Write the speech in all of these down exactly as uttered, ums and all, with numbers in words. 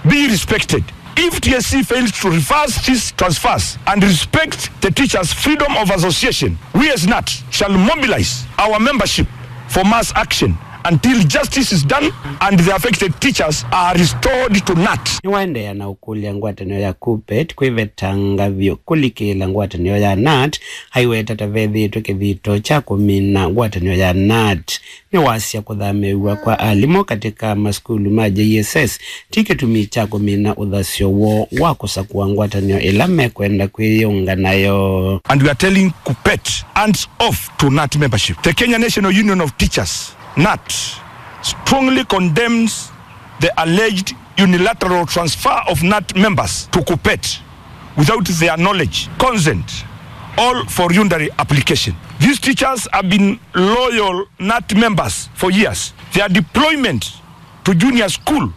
be respected. If T S C fails to reverse these transfers and respect the teachers' freedom of association, we as nat shall mobilize our membership for mass action until justice is done and the affected teachers are restored to nat. Nĩwaendeea na ũkũlya ngwatanĩo ya KUPPET kwĩvetanga vyũ kũlikĩĩla ngwatanĩo ya nat, aiweta ta vethĩĩtwe kĩthito kya kũmina ngwatanĩo ya nat. Nĩwasya kũthamĩĩw'a kwa alimũ katĩ ka masukulu ma J S S ti kĩtumi kya kũmina ũthasyo woo wa kũsakũa ngwatanĩo ĩla mekwenda kwĩyĩunga nayo. And we are telling KUPPET, hands off to nat membership. The Kenya National Union of Teachers, nat, strongly condemns the alleged unilateral transfer of nat members to KUPPET without their knowledge, consent, or voluntary application. These teachers have been loyal nat members for years. Their deployment to junior school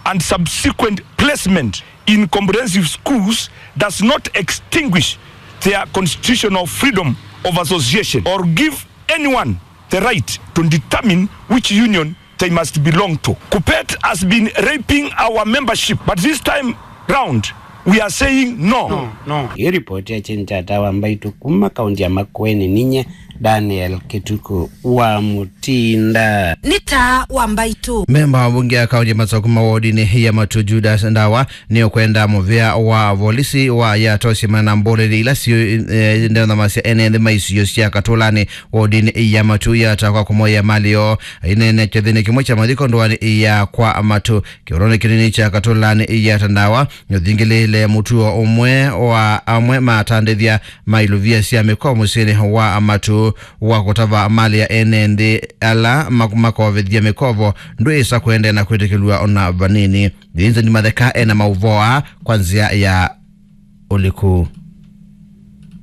and subsequent placement in comprehensive schools does not extinguish their constitutional freedom of association or give anyone the right to determine which union they must belong to. KUPPET has been raping our membership, but this time round, we are saying no. No, no. Ĩyo ripoti ya Cheney Kyata wa Mbaitũ kuma kaunti ya Makueni. Ninye Daniel Kĩtukũ wa Mũtinda. Nĩ Taa wa Mbaitũ. Memba wa mbunge ya kaunti ya Masaku ma wodinĩ ya Matuu, Judas Ndawa, nĩũkwenda mũvĩa wa volisi wa Yatta ũsyĩmana na mboleli ila syĩ, eh, ndeũthamasya ene nthĩ ma isio sya Katũlanĩ wodinĩ ya Matuu Yatta kwa kũmoya mali yoo. Aineena kĩthĩnĩ kĩmwe kya mathiko ndũanĩ ya kwa Matuu, kĩũlonĩ kĩnini kya Katũlanĩ Yatta Ndawa nĩũthingĩlĩĩle mũtuo ũmwe wa amwe matandĩthya ma ilovia sya mĩkoa mũsyĩnĩ wa Matuu wa kũtava mali ya ene nthĩ ala mak-, makovethya mĩkovo ndwĩsa kũendeea na kwĩtĩkĩlw'a ona vanini. Vincent Matheka ena maũvoo aa kwa nzĩa ya ũliku.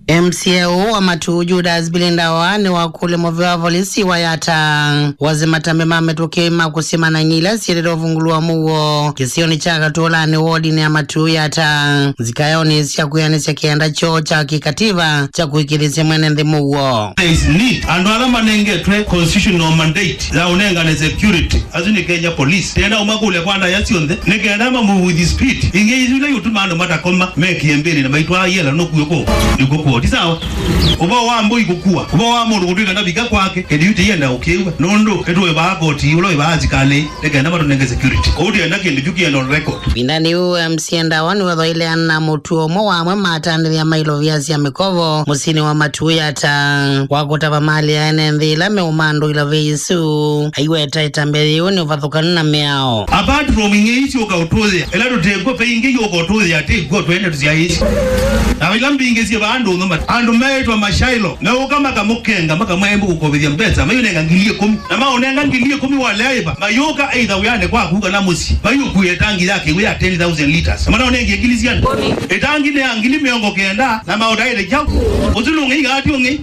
M C A ũũ wa Matuu, Judas Bilindawa, nĩwakũlya mũvĩa wa volisi wa Yatta wasye matambi ma mĩtũkĩ ma kũsyĩmana ila syĩlĩte ũvungũlwa mũuo kĩsionĩ kya Katũlanĩ wodinĩ ya Matuu Yatta nzikaonĩ sya kwĩanĩsya kĩanda kyoo kya kĩkativa kya kũĩkĩĩthĩsya mwene nthĩ mũuo. There is need. Andũ ala manengetwe constitutional mandate ya ũnengane security, asu nĩ Kenya Police. Tena ũmakũlya kwa ndaya syonthe, nĩ kenda ma move with speed. Ingĩ isu ila iũtuma andũ matakoma, mekĩe mbĩlĩ na maitwaa yela nũkuo kũ, nĩkuo kũo. Ti sawa? Ũvoo wa mbũi kũkua, ũvoo wa mũndũ kũtwĩka ndavika kwake, kĩndũ yu tĩyenda ũkĩw'a. Nũndũ nĩtũĩvaa koti, ũla wĩvaa asikalĩ, nĩ kenda matũnenge security. Kũu tĩenda kĩndũ kyu kĩenda on record. Ĩvindanĩ yĩu, M C A Ndawa nĩwethoile na mũtuo ũmwe wa amwe matandĩthya ma ilovia sya mĩkovo mũsyĩnĩ wa Matuu Yatta wa kũtava mali ya ene nthĩ ĩla meũmandũĩla vei isu. Aiweta ĩtambya yĩu nĩ ũvathũkanu na mĩao. Apart from ing'ei syũka ũtũthĩa, ĩla tũtekw'o, ve ingĩ yũka ũtũthĩa, tĩkw'o twene tũsyaĩĩsye. Na ila mbingĩ syĩ vaa ndũnyũ mat-, andũ meĩtwa mashailo, meũka makamũkenga, makamwĩa, "Ĩmbu kũkovethya mbesa, mayũnenga ngili ĩkũmi." Na maũnenga ngili ĩkũmi walea ĩva, mayũka either wĩanĩ kwaku kana mũsyĩ, mayũkuĩe tangi ya kĩw'ũ ya ten thousand liters. Na manaũnengie ngili syana. Ĩtangi nĩ ya ngili mĩongo kenda, na maũtaĩte kyaũ? Ũsu nũng'ei kana ti ũng'ei?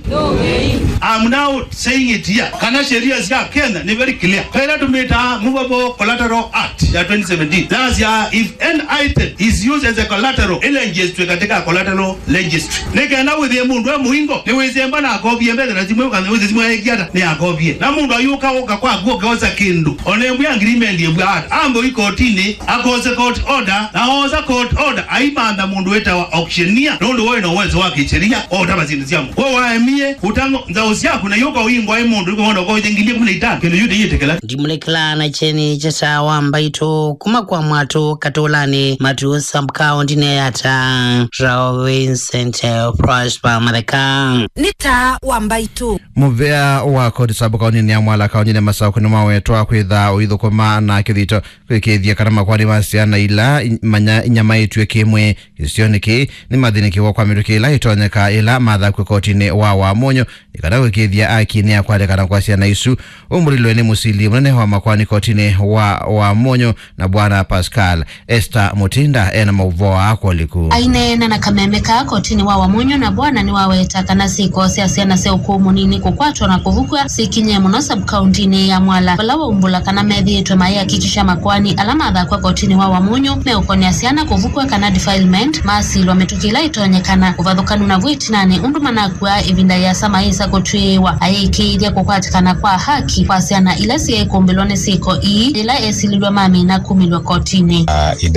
I'm now saying it here. Kana sheria sya Kenya nĩ very clear. Kaĩla tũmĩtaa Movable Collateral Act ya twenty seventeen. Yasya, if an item is used as a collateral, ĩlenjĩstwe katika collateral registry. Nĩ kenda wĩthĩe mũndũ e mũingo, nĩwĩsemba na akovie mbesa na simũ, kana wĩthĩe simũ yaĩkie ata, nĩ akovie. Na mũndũ ayũka ũka kwaku ũkeosa kĩndũ, ona ĩmwe agreement ĩvw'a ata, ambe ũi kotinĩ, akose court order, na oosa court order, aimantha mũndũ wĩtawa auctioneer, nũndũ woĩ na ũwezo wa kĩsheria, otava syĩndũ sya mũndũ. Kwa waemie, ũtango, nzaũ syaku, na yũka ũingwa ĩ mũndũ, ũkona ũkoĩte ngili ĩkũmi na itano, kĩndũ yu tĩyĩtĩkĩla. Ndimũlĩkĩlaa na kyeni kya Taa wa Mbaitũ kuma kwa Mwatũ Katũlanĩ Matuu sub-county-nĩ ya Yatta, Rao Vincent, eh, Prosper Matheka. Nĩ Taa wa Mbaitũ. Mũvĩa wa koti sub-county-nĩ ya Mwala kaunti-nĩ ya Masaku nĩmawetwa kwĩtha ũithũkũma na kĩthito kwĩkĩĩthya kana makoani ma syana ila i-, manya-, inyamaĩtw'e kĩ-mwĩĩ kĩsionĩ kĩĩ nĩmathĩnĩkĩwa kwa mĩtũkĩ ĩla ĩtonyeka ĩla mathakw'e kotinĩ wa Wamunyu nĩ kana kũĩkĩĩthya aki nĩyakwatĩkana kwa syana isu. Ũmbũlilwe nĩ mũsili mũnene wa makoani kotinĩ wa Wamunyu na Bwana Pascal Esther Mutinda ena maũvoo aa kwa ũliku. Aineena na kameme kaa kotinĩ wa Wamunyu na Bwana nĩwaweta kana syĩko sya syana sya ũkũũ mũnini kũkwatwa na kũvukw'a syĩkinyie mũno sub-county-nĩ ya Mwala, vala waumbũla kana methĩĩtwe mayĩakikisha makoani ala mathakw'a kotinĩ wa Wamunyu meũkonea syana kũvukw'a kana defilement masilwa mĩtũkĩ ĩla ĩtonyekana. Ũvathũkanu naw'o ĩtinanĩ ũndũ manakw'a ĩvinda yĩasa mayĩsa kũtw'ĩĩwa ayĩkĩĩthya kũkwatĩkana kwa haki kwa syana ila syaĩ kũmbĩlwa nĩ syĩko ii yĩla esililw'a mamina kumĩlw'a kotinĩ. Ah, ida